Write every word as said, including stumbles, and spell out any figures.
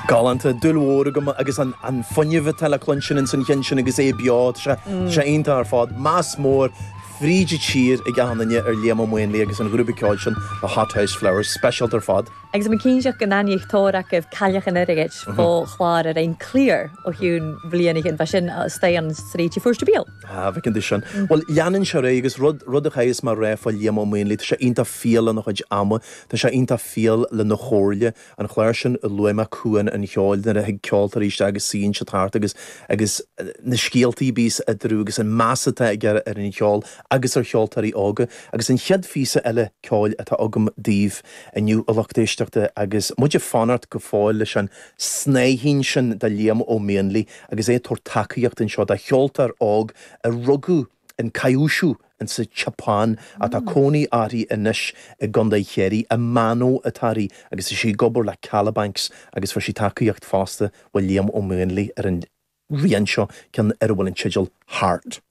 Galánta dúil mhór agam agus an, an fuinneamh atá le cluinstin ins an cheann sin agus é beo sé sé iontach ar fad meas mór fríd an tír ag achan duine ar Liam Ó Maonlaí agus an grúpa ceoil sin the Hothouse Flowers speisialta ar fad. Agus an cinnseach go n-aníoch tóir acu cailleach an airgid fó chlár ar ein clear ó hiún bliana chin sin stay an sríti fuair bíl. Ah, bhí du sin. Well leanann sé ré agus rud rud a chaithfidh mar ré fá Liam Ó Maonlaí, Tá sé iontach fial lena chuid ama, Tá sé iontach fial lena chomhairle an chlár sin i luaime cuan an cheoil nuair a thig ceoltóirí isteach agus suíonn siad thart agus agus na scéaltaí bíos eatarthu agus an meas atá aige ar an cheol agus ar cheoltóirí óga, agus an chéad phíosa eile ceoil atá agam daoibh inniu a lucht éisteachta agus muid ag fanacht go fóill leis an snáithín sin de Liam Ó Maonlaí agus é tabhairt tacaíocht anseo do cheoltóir óg a rugadh in Kyushu in sa tSeapáin atá cónaí uirthi anois i gContae Chiarraí Amano atá uirthi agus is sí ag obair le Kalabanx agus fuair sí tacaíocht fosta ó Liam Ó Maonlaí ar an rian seo ceann ar a bhfuil an teideal Heart.